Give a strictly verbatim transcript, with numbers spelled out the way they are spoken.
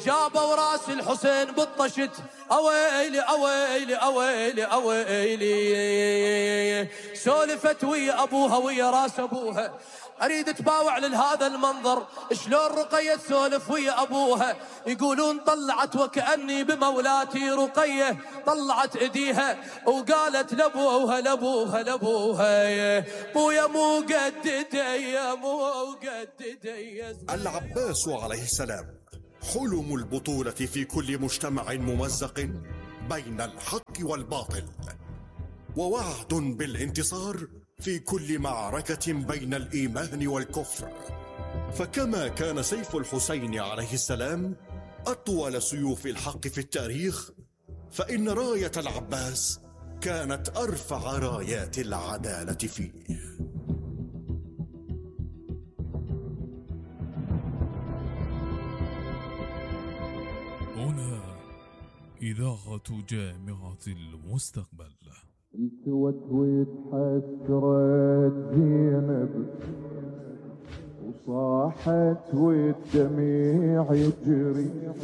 جابوا راس الحسين بالطشت، اويلي اويلي اويلي اويلي. سولفت ويا ابوها ويا راس ابوها، اريد تباوع لهذا المنظر شلون رقية تسولف ويا ابوها. يقولون طلعت وكأني بمولاتي رقية، طلعت ايديها وقالت لابوها لابوها لابوها بويا مو قد ديا مو قد ديا. العباس عليه السلام حلم البطولة في كل مجتمع ممزق بين الحق والباطل، ووعد بالانتصار في كل معركة بين الإيمان والكفر. فكما كان سيف الحسين عليه السلام أطول سيوف الحق في التاريخ، فإن راية العباس كانت أرفع رايات العدالة فيه. هنا إذاعة جامعة المستقبل. التوت وتحسرت زينب وصاحت والدميع يجري،